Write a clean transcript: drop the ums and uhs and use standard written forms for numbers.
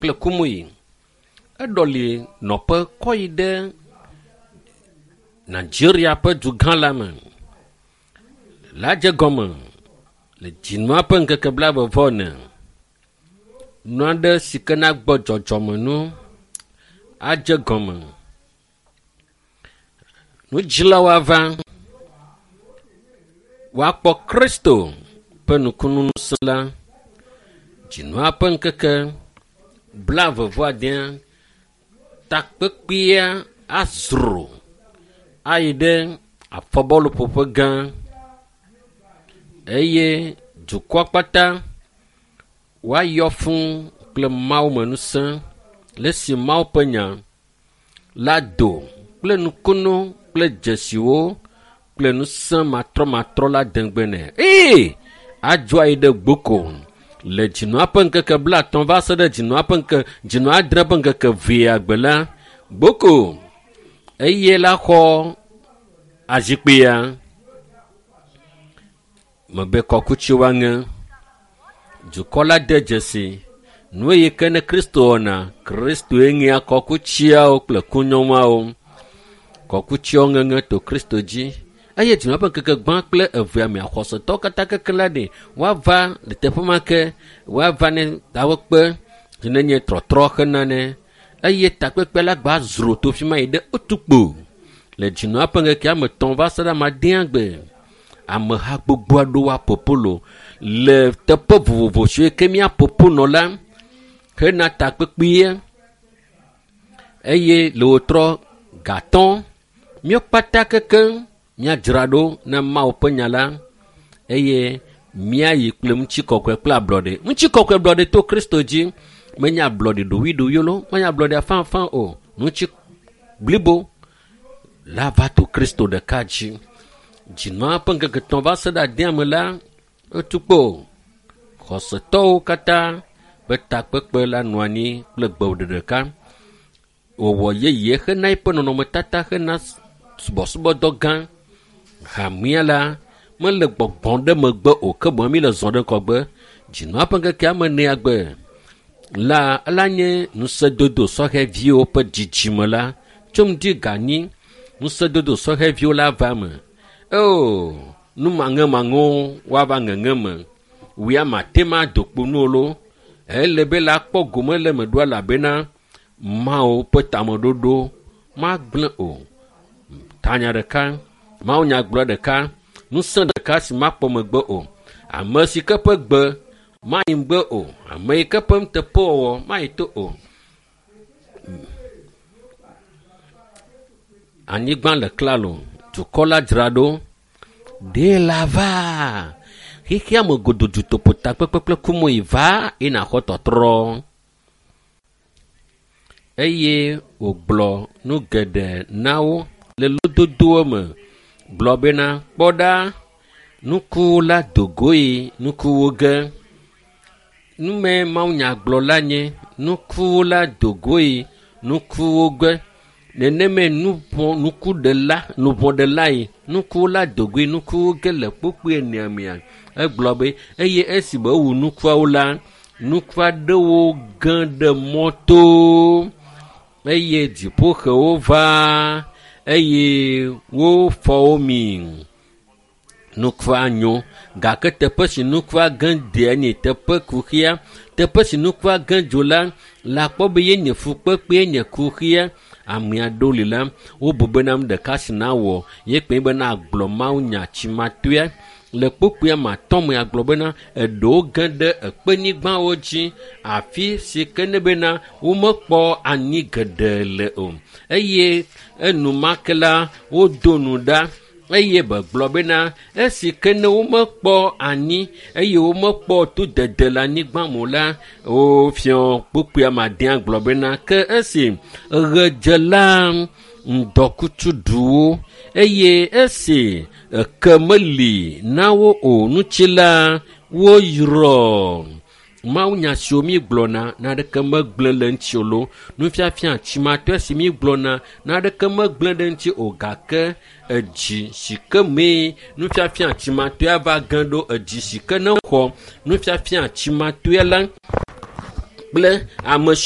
Kple Kumuyi. Eɖɔli nɔƒe kɔ yi ɖe Nigeria ƒe dugã la me. La dze gɔme le dzinua ƒe ŋkeke blaeve-vɔ-ene. Nu aɖe si ke nagbɔ dzɔdzɔme nu adze gɔme. Nudzilawo ava woakpɔ Kristo ƒe nukunu ŋusẽ la. Dzinua ƒe ŋkeke blaeve-vɔ-adea takpekpea azro ayi ɖe afɔbɔluƒoƒe gã eye dukɔa kpata woayɔ fũ kple Mawu me ŋusẽ le esi Mawu ƒe nya la do kple nukunu kple dzesiwo kple ŋusẽ matrɔmatrɔ la degbe nɛ. Ee, adzo ayi ɖe gboko le dzinua ƒe ŋkeke 50 va se ɖe dzinua ƒe ŋke dzinua 8 ƒe ŋkeke 2 gbe la gboko eye la xɔ azikpuia mebe kɔkuti woaŋe. Dukɔ la de dzesi nu yi ke ne Kristo wɔna. Kristoe ŋea kɔkutiawo kple kunyɔnuawo. Kɔkutiawo ŋeŋe to Kristo dzi. Eye dzinua ƒe ŋkeke gbã kple evea mea xɔsetɔwo katã keke la ɖe woava le teƒe ma ke woava ne dawɔkpe si ne nye trɔtrɔ hena ne eye takpekpe la gba zro to fi ma yi ɖe otukpo le dzinua ƒe ŋkeke ame 3 va se ɖe ame 8 gbe. Ameha gbogbo aɖewo apopolo le teƒe vovovo siwo ke míapopo nɔ la hena takpekpea eye le wotrɔ gatɔ míawo kpata kekeŋ míadzra ɖo na Mawu ƒe nya la eye míayi kple ŋutikɔkɔe kple ablɔɖe. Ŋutikɔkɔe ablɔɖe to Kristo dzi menye ablɔɖe ɖoɖoeɖoɖoe lo, menye ablɔɖe afãafã o. Ŋuti blibo la va to Kristo ɖeka dzi. Dzinua ƒe ŋkeke 3 va se ɖe 8 me la, etukpo xɔsetɔwo katã ƒe takpekpe la nɔ anyi kple gbeɖeɖe ɖeka. Wɔwɔ yeye hena eƒe nɔnɔmetata hena subɔsubɔdɔ gã. Hamea la mele gbɔgbɔm ɖe megbe o, ke boŋ mi le zɔ ɖe ŋgɔgbe. Dzinua ƒe ŋkeke ame 4 gbe la ela nye ŋusẽdodo sɔhɛviwo ƒe dzidzime la tso ŋdi ganyi ŋusẽdodo sɔhɛviwo la va me. O nu maŋemaŋewo woava ŋeŋe me. Wia mate ma do kpo nu o lo. Ele be la kpɔ gome le me ɖo elabena Mawu ƒe tameɖoɖo magblẽ o. Tanya ɖeka, Mawu nyagblɔ ɖeka, ŋusẽ ɖeka si makpɔ megbe o. Ame si ke ƒe gbe mayi ŋgbe o. Ame yi ke ƒe nuteƒewɔwɔ mayi to o. Anyigba le klalo, dukɔ la dzra ɖo. Ɖe la va. Xexea me godo dutoƒo takpekpe kple kumoyi va eye nàxɔ tɔtrɔ. Eye wògblɔ nu geɖe na wo le lododoa me gblɔ bena kpɔ ɖa nuku la dogoe nukuwo ge. Nume mawunyagblɔ la nye nuku la dogoe nukuwo ge. Neneme nukuɖela nuvɔ̃ɖelae nuku la dogoe nukuwo ge le kpukpui enea mea. Egblɔ be eye esime ewu nukuawo la nuku aɖewo ge ɖe mɔto eye dziƒoxewo va eye wofɔ wo mi. Nukua nyo gake teƒe si nukua ge dea nye teƒe kuxia. Teƒe si nukua ge dzo la la kpɔ be yenye fukpekpe nye kuxia. Ame aɖewo li la wobu bena nu ɖeka si nawɔ ye kpe bena agblɔ mawunya tsimatoea le kpukpuia me 5 me agblɔ bena eɖewo ge ɖe ekpenyigbawo dzi afi si ke ne bena womekpɔ anyi geɖe le o eye enumake la wodo nu ɖa eye begblɔ bena esi ke ne womekpɔ anyi eye womekpɔ to dede le anyigba me o la wofiɔ kpukpuia me 8 gblɔ bena ke esi ɣe dze la ŋdɔkutsu ɖu wo eye esi eke meli na wo o ŋuti la woyrɔ. Mawunya siwo mi gblɔna naneke megblẽ le ŋuti o lo. Nufiafia tsimatɔe si mi gblɔna naneke megblẽ ɖe ŋuti o gake edzi si ke mee nufiafia tsimatɔea va ge ɖo edzi si ke ne xɔ nufiafia tsimatɔe la kple ame siwo